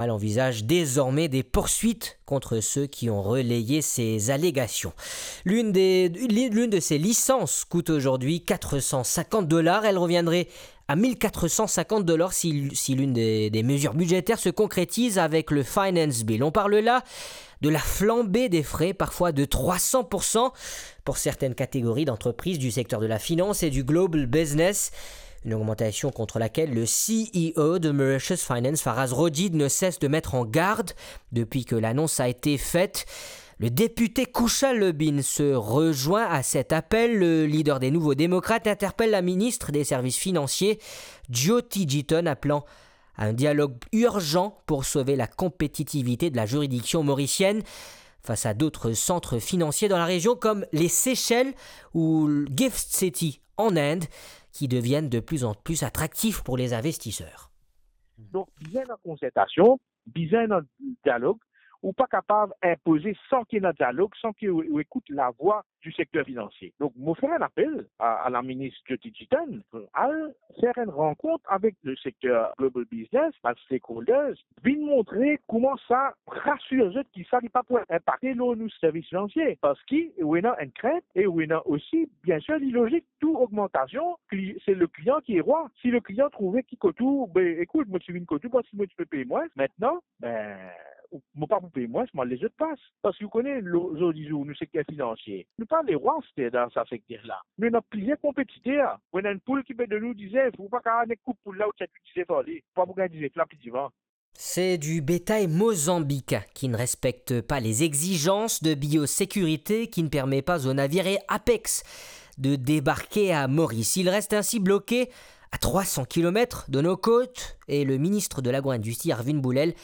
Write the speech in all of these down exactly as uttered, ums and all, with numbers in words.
Elle envisage désormais des poursuites contre ceux qui ont relayé ces allégations. L'une des, l'une de ces licences coûte aujourd'hui quatre cent cinquante dollars. Elle reviendrait à mille quatre cent cinquante dollars si, si l'une des, des mesures budgétaires se concrétise avec le Finance Bill. On parle là de la flambée des frais, parfois de trois cents pour cent pour certaines catégories d'entreprises du secteur de la finance et du global business. Une augmentation contre laquelle le C E O de Mauritius Finance, Faraz Rojid, ne cesse de mettre en garde depuis que l'annonce a été faite. Le député Kushal Lubin se rejoint à cet appel. Le leader des Nouveaux Démocrates interpelle la ministre des Services financiers, Jyoti Jitan, appelant à un dialogue urgent pour sauver la compétitivité de la juridiction mauricienne face à d'autres centres financiers dans la région comme les Seychelles ou le Gift City en Inde, qui deviennent de plus en plus attractifs pour les investisseurs. Donk, bizin ena konsertasion, bizin ena dialog. Ou pa kapav inpoze san ki ena dialog, san ki ou, ou ekout lavwa di sekter finansie. Donk, mo fer enn apel a, a laminis Jyoti Jitan, al fer enn rankont avek le sekter global business, bann stakeholders, vinn montre kouma sa, rasir zot ki sa li pa pou inpakte lor nou servis finansie, parski ou ena enn krint e ou ena osi, biensir, li lozik, tou ogmantasion, kli-, se le klian ki rwa. Si le klian trouve ki kot ou, be, ekout, mo ti vinn kot ou parski mo ti pe pey mwins, mintnan, be, ou, mo pa pou pey mwins, mo al les zot plas. Parski ou kone, lo-, zordi zour, nou sekter finansie, nou pa lerwa aster dan sa sekter la. Nou ena plizier konpetiter. Ou ena enn poul ki pe donn ou dizef, ou pa kapav nek koup poul la, ou tir tou dizef ar li. Ou pa pou gagn dizef la pli divan. C'est du bétail mozambicain qui ne respecte pas les exigences de biosécurité qui ne permet pas au navire Apex de débarquer à Maurice. Il reste ainsi bloqué à trois cents kilomètres de nos côtes et le ministre de l'Agro-industrie, Arvind Boulel,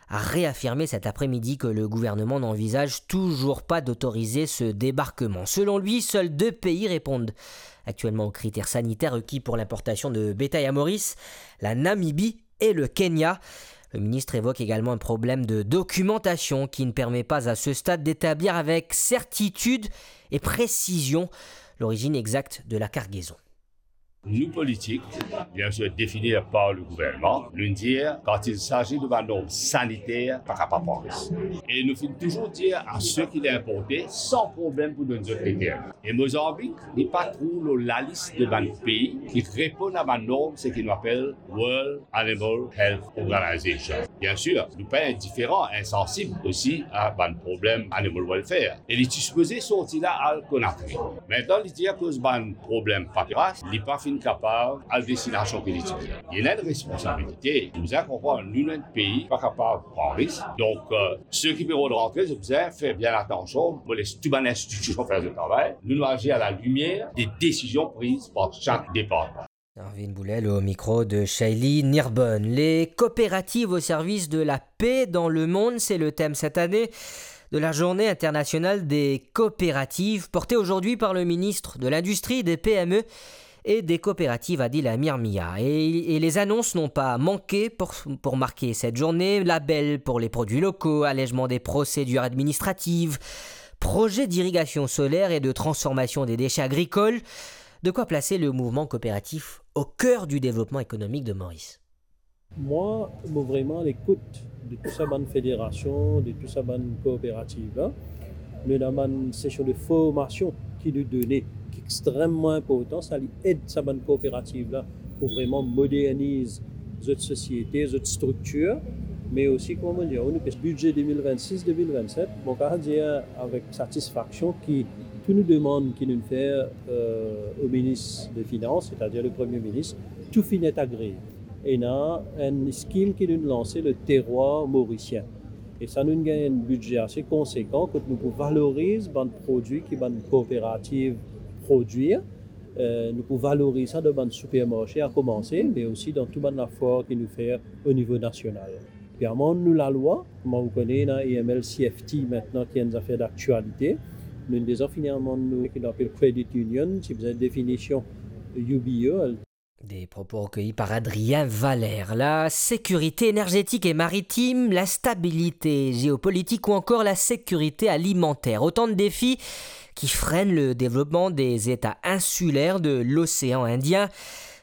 a réaffirmé cet après-midi que le gouvernement n'envisage toujours pas d'autoriser ce débarquement. Selon lui, seuls deux pays répondent actuellement aux critères sanitaires requis pour l'importation de bétail à Maurice, la Namibie et le Kenya. Le ministre évoque également un problème de documentation qui ne permet pas à ce stade d'établir avec certitude et précision l'origine exacte de la cargaison. Nou politik, biensir defini par le gouvernman, nou dir, kan il s'agit de bann norm saniter, pa kapav pran risk. E nou finn touzour dir a seki li inporte, san problem pou donn zot leker. E Mozanbik, li pa trouv lor lalis de bann pei ki reponn a bann norm, seki nou apel World Animal Health Organization. Biensir, nou pa indiferan, insansib osi a bann problem animal welfare. E li ti sipoze sorti la al Conakry. Mintnan, li dir akoz bann problem papiras, li pa finn kapav al destinasion ki li ti bizin. Li ena enn responsabilite. Nou bizin konpran, nou, nou enn pei, pa kapav pran risk. Donk, euh, seki pe rod rantre, zot bizin fer bien atansion, mo les tou bann institision fer zot travay. Nou, nou azir a la limier de desizion priz par sak departman. Arvind Boulel au micro de Shaylee Nirbonne. Les coopératives au service de la paix dans le monde, c'est le thème cette année de la Journée internationale des coopératives, portée aujourd'hui par le ministre de l'Industrie, des P M E et des coopératives, Adil Amir Mia. Et, et les annonces n'ont pas manqué pour, pour marquer cette journée. Label pour les produits locaux, allègement des procédures administratives, projet d'irrigation solaire et de transformation des déchets agricoles. De quoi placer le mouvement coopératif au cœur du développement économique de Maurice. Mwa, mo vreman a lekout de tou sa bann federasion, de tou sa bann kooperativ la. Nou ena bann sesion de formasion ki nou done, ki extrememan inportan, sa li ed sa bann kooperativ la pou vreman moderniz zot sosiete, zot striktir, me osi, kouma mo dir, nou pe bidze de mil vennsis, de mil vennset, mo kapav dir avek satisfaksion ki tou nou demann ki nou fer, euh, o minis de finans, setadir le premie minis, tou finn et agree. Ena enn skim ki nou lanse, le Terroir Morisien. E sa nou gagn enn bidze ase konsekan kot nou pou valoriz bann prodwi ki bann kooperativ prodwir. Euh, nou pou valoriz sa dan bann sipermarse a koumanse, me osi dan tou bann lafwar ki nou fer o nivo nasional. Pe amann nou lalwa, kouma ou kone, ena A M L C F T mintnan ki enn zafer daktialite. Nou deza finn amann nou ki nou apel Credit Union, ti bizin definision U B O. Des propos recueillis par Adrien Valère. La sécurité énergétique et maritime, l'instabilité géopolitique ou encore la sécurité alimentaire. Autant de défis qui freinent le développement des États insulaires de l'océan Indien.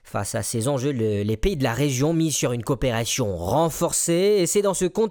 Face à ces enjeux, le- les pays de la région misent sur une coopération renforcée et c'est dans ce contexte